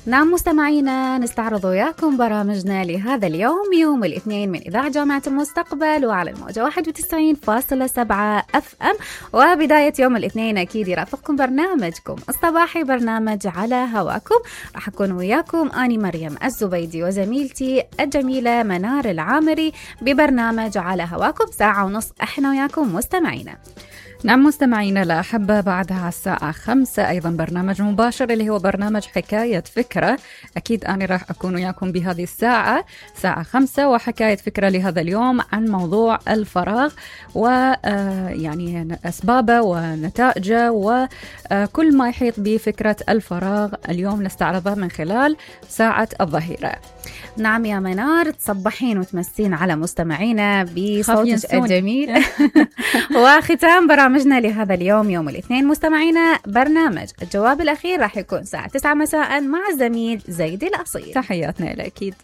نعم مستمعينا، نستعرض وياكم برامجنا لهذا اليوم يوم الاثنين من إذاعة جامعة المستقبل وعلى الموجة 91.7 FM. وبداية يوم الاثنين أكيد يرافقكم برنامجكم الصباحي، برنامج على هواكم. راح أكون وياكم أني مريم الزبيدي وزميلتي الجميلة منار العامري ببرنامج على هواكم ساعة ونص احنا وياكم مستمعينا. نعم مستمعينا الأحبة، بعدها الساعة 5 أيضا برنامج مباشر اللي هو برنامج حكاية فكرة. أكيد أنا راح أكون وياكم بهذه الساعة ساعة 5 وحكاية فكرة لهذا اليوم عن موضوع الفراغ ويعني أسبابه ونتائجه وكل ما يحيط بفكرة الفراغ اليوم نستعرضها من خلال ساعة الظهيرة. نعم يا منار، تصبحين وتمسين على مستمعينا بصوتك الجميل. وختام برامجنا لهذا اليوم يوم الاثنين مستمعينا برنامج الجواب الأخير راح يكون الساعة 9 مساء مع الزميل زيد الأصيل. تحياتنا لك أكيد.